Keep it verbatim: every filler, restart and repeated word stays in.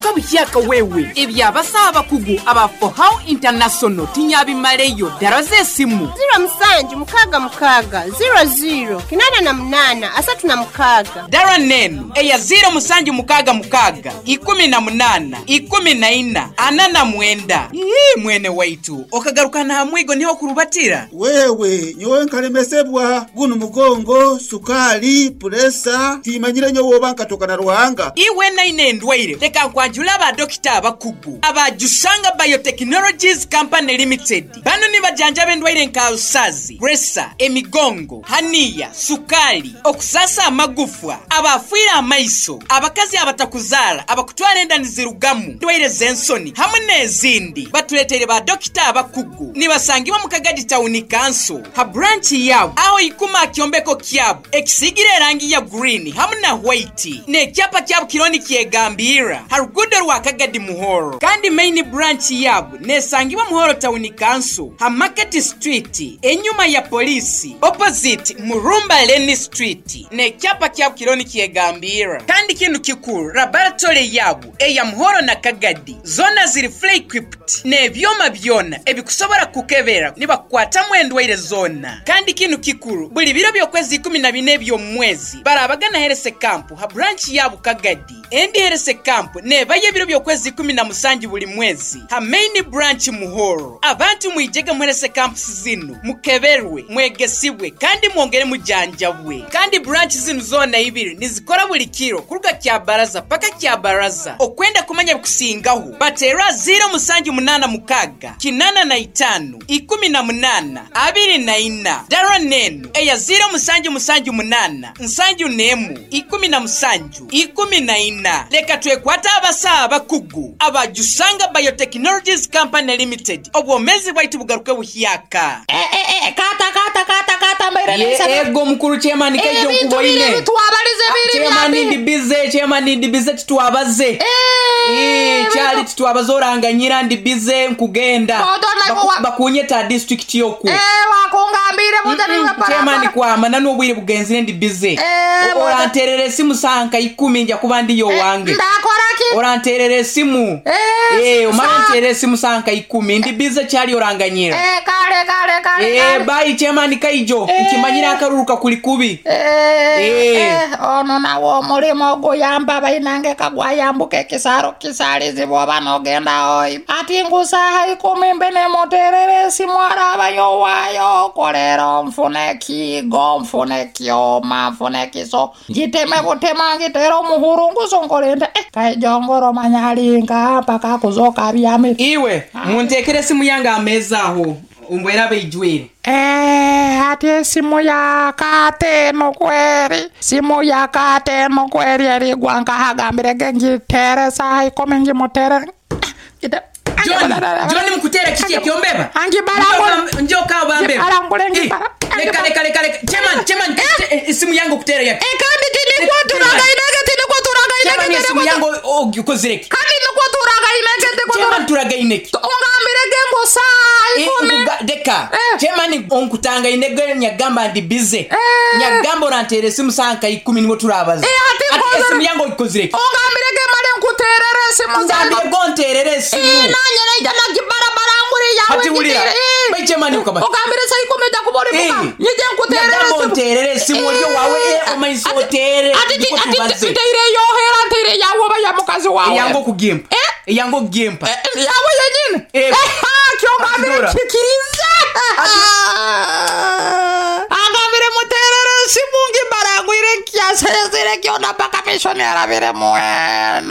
Garuka buhyaka wewe ebyabasa abakugu aba Fohow International tinyabimaleyo daraze esimu ziro musanju mukaga mukaga ziro ziro kinana na munana asatu na mukaga. Dara nenu eya ziro musanju mukaga mukaga ikumi na munana ikumi na ina ana na mwenda. Ii, mwene waitu okagaruka na hamwigo niho kurubatira. Wewe nyowe nkalemesebwa guno mugongo sukali puresa timanyire nyowe oba nkatoka na Ruhanga. Iwe naine endwaire leka nkwanjula ba dokita abakugu abajusanga Biotechnologies Company Limited. Bano ni bajanjaba endwaire nka usazi, presa, emigongo, haniya, sukali, okusasa amagufwa, abafiira amaiso, abakazi abatakuzara, abakutwara enda nizirugamu, ndwaire z'ensoni hamwe n'ezindi. Batuletere ba dokita abakugu nibasangibwa mu Kagadi Town Council ha branch yabo aho ikuma kyombeko kyabo ekisigira erangi ya green hamwe na white n'ekyapa kyabo kironi kyegambira ha rugudo rwa Kagadi Muhoro. Kandi main branch yabo nesangibwa Muhoro Town Council ha Market Street enyuma ya polisi opposite Murumba Lane Street n'ekyapa kyabo kironi kyegambira. Kandi kintu kikuru laboratory yabo eya Muhoro na Kagadi zona ziri fully equipped n'ebyoma byona ebikusobora kukebera nibakwatamu endwaire zona. Kandi kintu kikuru buli biro by'okwezi ikumi na bine by'omwezi barabagana Herese Camp ha branch yabo Kagadi. Endi Herese Camp nebaye ebiro by'okwezi ikumi na musanju buli mwezi ha main branch Muhoro. Abantu mwijege mu Herese Camp zinu mukeberwe mwegesibwe kandi mwongere mujanjabwe. Kandi branch zinu zona ibiri nizikora buli kiro kuruga kya baraza paka kya baraza. Okwenda kumanya bikusingaho batera ziro musanju munana mukaga kinana na itanu ikumi na munana abiri na ina. Dara nenu eya ziro musanju musanju munana nsanju nemu ikumi na musanju ikumi na ina. Leka twekwata abasa abakugu abajusanga Biotechnologies Company Limited obwomezi bwaitu bugaruke buhyaka. Eh, eh, eh, kata kata kata kata mbaire Ye, ego mukuru chairman kaijo nkuboine bitwabalize biri chairman ndi bize chairman ndi bize titwabaze eh eh chali titwabaze oranganyira ndi bize nkugenda Baku, bakunyeta district yoku eh wakungambire mutani mm, chairman kwa mananu obwire bugenzire ndi bize eh, oranterere simu sanka ikumi nja kuba ndi yo wange ndakora ki oranterere simu eh eh omanterere simu sanka ikumi ndi bize chali oranganyira eh kale kale kale eh bye chairman kaijo eh. Nkimanyira akaruruka kuli kubi eh, eh. eh ono nawo mulimo oguyamba bainange kagwayambuka ekisaro kisalizibwa banogenda oi ati ngusaha ikumi mbene muterere simu arabayo wayo kolero nfune kigo nfune kyoma nfune kiso ngiteme butema ngitera omuhuru ngusonkolende eh kaijongoro manyalinga paka kuzoka byami iwe muntekere simu yange ameza aho umbwera beijwire Eh, ati simu ya kateno kweri simu ya kateno kweri erigwa nkahagambire gengitere saha ikumi ngimutere ngite John, John mkutera kiki ekyombeba Angibarangule njoka bambe Ngibarangule ngibara leka leka leka leka chairman chairman isimu yangu kutera yake eh kandi tinikwa turagainege tinikwa turagainege chairman isimu yangu ogikozireke kandi nikwa turagainege tinikwa chairman turagainege ongambire gengo saa ikumi deka chairman onkutanga inege nyagamba ndi bize nyagamba orantere simu sanka ikumi niwo turabaza eh ati isimu yangu ogikozireke ongambire gemale nkuterere simu ngambire gonterere simu eh nanye naija nagibarabara yawe ati wulira bai chairman ukaba ogambire saa ikumi ja kubori muka nyije nkuterere nyagamba onterere simu olyo wawe omaiso otere ati ati nteire yohera nteire yawe ba ya mukazi wawe yango kugimpa eh yango kugimpa yawe yenyine eh kyogambire kikiriza agambire muterere simu ngibarangwire kyasezere kyona paka mishoni arabire mwena.